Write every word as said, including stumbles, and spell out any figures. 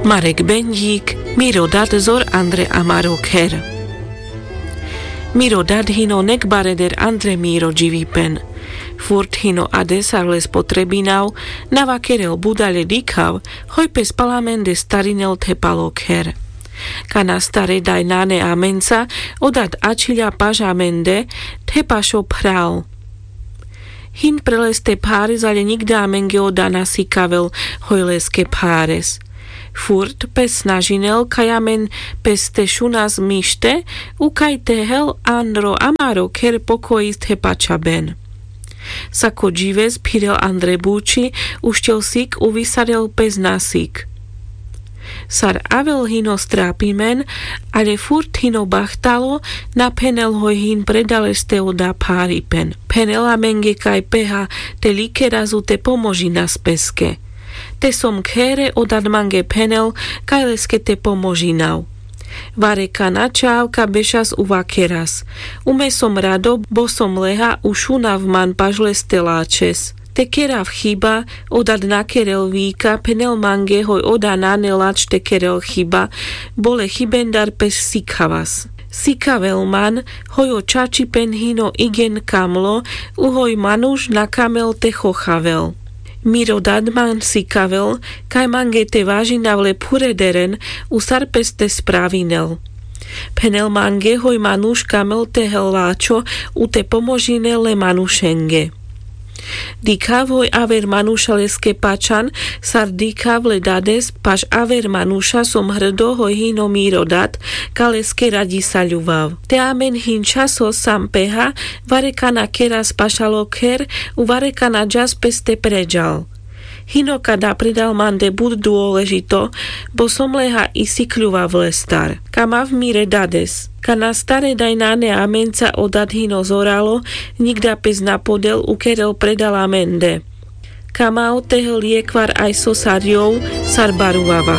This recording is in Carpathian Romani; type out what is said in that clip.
Marek bendík. Miro dad zor andre amaro kher. Miro dad hino nek bareder andre miro dživipen. Furt hino adesar le spotrebinav. Na vakerel budale dikhav hoj pes pal amende starinel the palo kher. Kana stare daj nane amenca, o dad ačhiľa paš amende, the pašo phral. Hin pre leste phares ale nikda amenge oda na sikavel hoj leske phares. Furt pes snažinel kaj amen pes te šunas mište, ukaj te hel anro amaro kher pokojis the pačaben. Sako džives phirel andre buči, uščel sik uvisarel pes na sik. Sar avel hino strapimen, ale furt hino bahtalo, na phenel hoj hin predaleste oda pharipen. Phenel amenge kaj peha te likerazu te pomožinas peske. Te som khere o dad mange phenel kaj leske te pomožinav. Vare kana čav ka bešas uvakeras. Ume som rado bo som leha ušunav man paš leste lačes. Te kerav hiba, o dad na kerel vika phenel mange hoj oda nane lač te kerel hiba, bo le hibendar pes sikhavas. Sikavel man hoj o čačipen hino igen kamlo, u hoj manuš na kamel te chochavel. Miro dad man sikavel kaj mange te važinav le phurederen, u sar pes te spravinel. Phenel mange hoj manuš kamel te hel lačo, u te pomožinel le manušenge. Dikhav hoj aver manuša leske pačan, sar dikhav le dades paš aver manuša som hrdo hoj hino miro dad, ka leske radisaľuvav. Te amen hin časo sam peha, vare kana keras pašalo kher, u vare kana džas pes te predžal. Hino ka da predal mande but duoležito, bo som leha isikľuvav lestar. Kamav mire dades. Kana stare daj nane amenca o dad hino zoralo, nikda pes na podel ukerel predal amende. Kamav te hel jekvar aj so sar jov, sar baruvava.